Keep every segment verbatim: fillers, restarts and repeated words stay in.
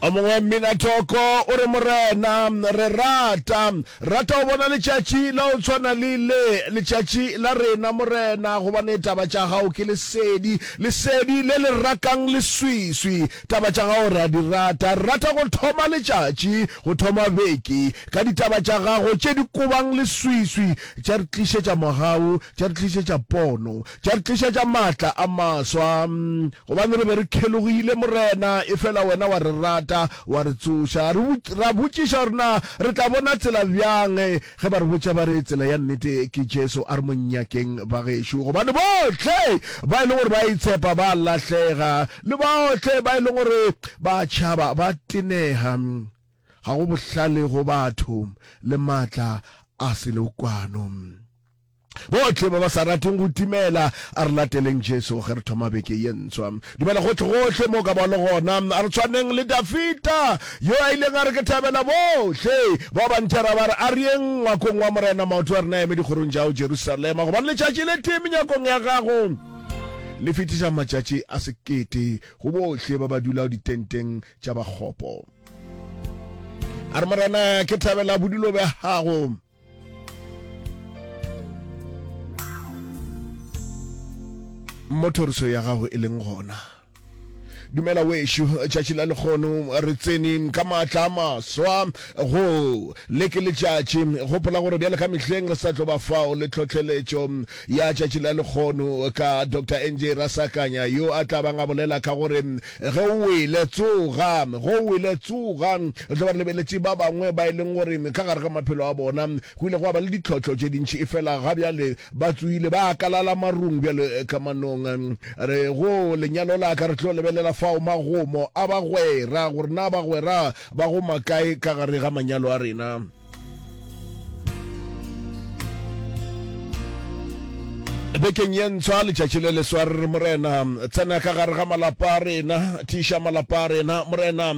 O mongwe mminathoko o re, Morena, re rata, rata go bona letšatši la go tshwana le le, letšatši la rena, Morena, gobane taba tša gago ke lesedi, lesedi le le rakang leswiswi. Taba tša gago re a di rata. Re rata go thoma letšatši, go thoma beke, ka ditaba tša gago tše di kobang leswiswi, tša re tlišetša mogau, tša re tlišetša pono, tša re tlišetša maatla a maswa. Gobane re be re kgelogile, Morena, efela wena wa re rata, wa re tsoša. Re, ra botšiša gore na re tla bona tsela bjang, ge ba re botša ba re tsela ya nnete ke Jesu. A re mo nyakeng, bagešo, gobane bohle ba e leng gore ba itshepa ba a lahlega, le bohle ba e leng gore ba tšhaba ba tenega. Ga go bohlale go batho, le maatla a selekwano. Bohle ba ba sa rateng go timela, a re lateleng Jesu ge re thoma beke ye ntswa. Dumela gohle-gohle mo o ka ba le gona. A re tshwaneng le Dafida, yo a ileng a re, Ke thabela bohle bao ba nthera ba re, A re yeng ngwakong wa Morena, maoto a rena a eme dikgorong tša gago, Jerusalema. Gobane letšatši le tee menyakong ya gago le fetiša matšatši a sekete go bohle ba ba dulago ditenteng tša bakgopo. A re, Morena, ke thabela bodulo bja gago. Mo thoriso ya gago e leng gona. Dumela wešo, tšatši la lekgono re tsene ka maatla a maswa go le ke letšatši. Gopola gore bjale ka mehleng re sa tlo ba fao le tlhohleletšo ya tšatši la lekgono ka Doctor N J Rasakanya yo a tla bang a bolela ka gore ge o wele tsoga, ge o wele tsoga. Re tlo ba re lebeletše ba bangwe ba e leng gore ka gare ga maphelo a bona go ile gwa ba le ditlhohlo tše dintši, efela ga bjale ba tsohile ba akalala marung bjalo ka manong. Re go lenyalo la ka re tlo lebelela fao magomo a bagwera, gore na bagwera ba goma kae ka gare ga manyalo a rena. Bekeng ye ntshwa, letšatši le leswa, re re, Morena, tsena ka gare ga malapa a rena, tiiša malapa a rena, Morena.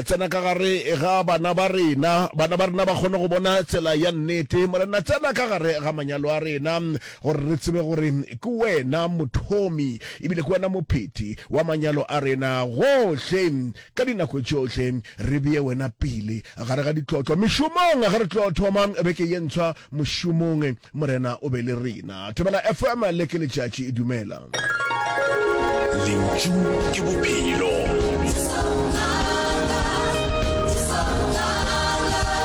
Tsena ka gare ga bana ba rena, bana ba rena ba kgone go bona tsela ya nnete. Morena, tsena ka gare ga manyalo a rena, gore re tsebe gore ke wena mothomi ebile ke wena mophethi wa manyalo a rena. Gohle, ka dinako tšohle, re bee wena pele gare ga ditlotlo mešomong. Ge re tlo thoma beke ye ntshwa mošomong, Morena o be le rena. Thobela F M, le ke letšatši. Dumela. Lentšu ke bophelo.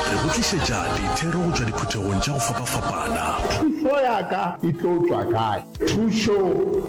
Re go tlišetša dithero go tšwa diphuthegong tša go fapafapana. Thušo ya ka e tlo tšwa kae? Thušo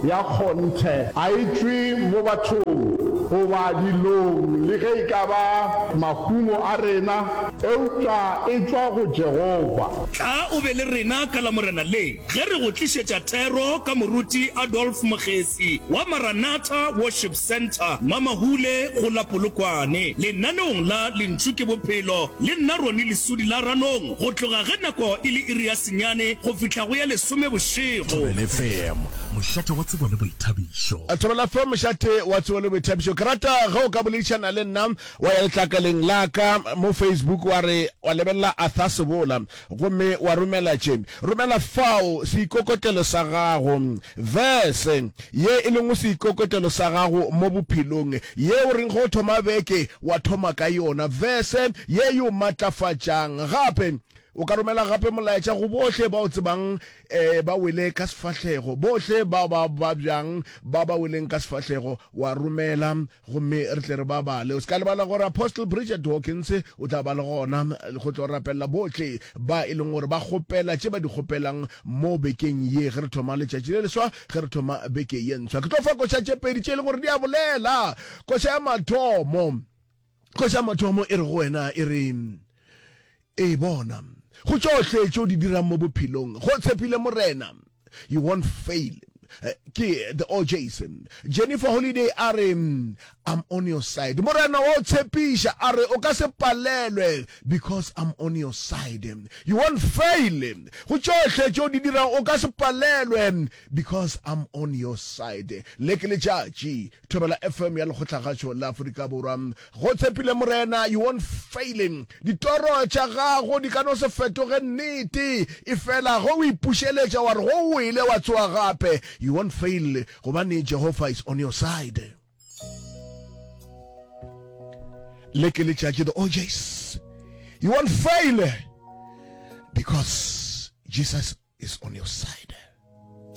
ya kgonthe ga e tšwe mo bathong goba dilong le ge e ka ba mahumo a rena, eupša e tšwa go Jehofa. Tla o be le rena ka Lamorena le ge re go tlišetša thero ka Moruti Adolf Mogesi wa Maranatha Worship Centre, Mamahule go la Polokwane, lenaneong la Lentšu ke Bophelo le nna Ronnie Lesudi la Ranong go tloga ge nako e le iri ya senyane go fihla go ya lesome bošego. Thobela F M, mošate wa tsebo le boithabišo. Thobela F M, mošate wa tsebo le boithabišo. Ke rata ge o ka boledišana le nna wa ya letlakaleng la ka mo Facebook wa re wa lebelela Arthur Sebola gomme wa romela tše. Romela fao seikokotlelo sa gago, verse ye e lego seikokotlelo sa gago mo bophelong, ye o reng ge o thoma beke wa thoma ka yona, verse ye e o matlafatšang. Gape o ka romela gape molaetša go bohle ba o tsebang eh, ba wele ka sefahlego, bohle ba ba babjang ba ba weleng ka sefahlego, wa romela gomme re tle re ba bale. O se ka lebala gore Apostle Bridget Hawkins o tla ba le gona go tlo rapelela bohle ba e leng gore ba kgopela tše ba di kgopelang mo bekeng ye ge re thoma letšatši le leswa, ge re thoma beke ye ntshwa. Ke tlo fa koša tše pedi tše e leng gore di a bolela. Koša ya mathomo, koša ya mathomo e re go wena, e re, E bona, go tšohle tše o di dirang mo bophelong, go tshepile Morena, you won't fail. Ke The O'Jays. Jennifer Holiday a re, I'm on your side. Morena wa o tshepiša, a re o ka se palelwe, because I'm on your side. You won't fail. Go tšohle tše o di dirang, o ka se palelwe, because I'm on your side. Le ke letšatši, Thobela F M ya Lekgotlagašo la Afrika Borwa. Go tshepile Morena, you won't fail. Ditoro tša gago di ka no se fetoge nnete, efela ge o ipušeletša wa re go o wele wa tsoga gape, you won't fail, gobane Jehofa is on your side. Le ke letšatši, the OJs. You won't fail because Jesus is on your side.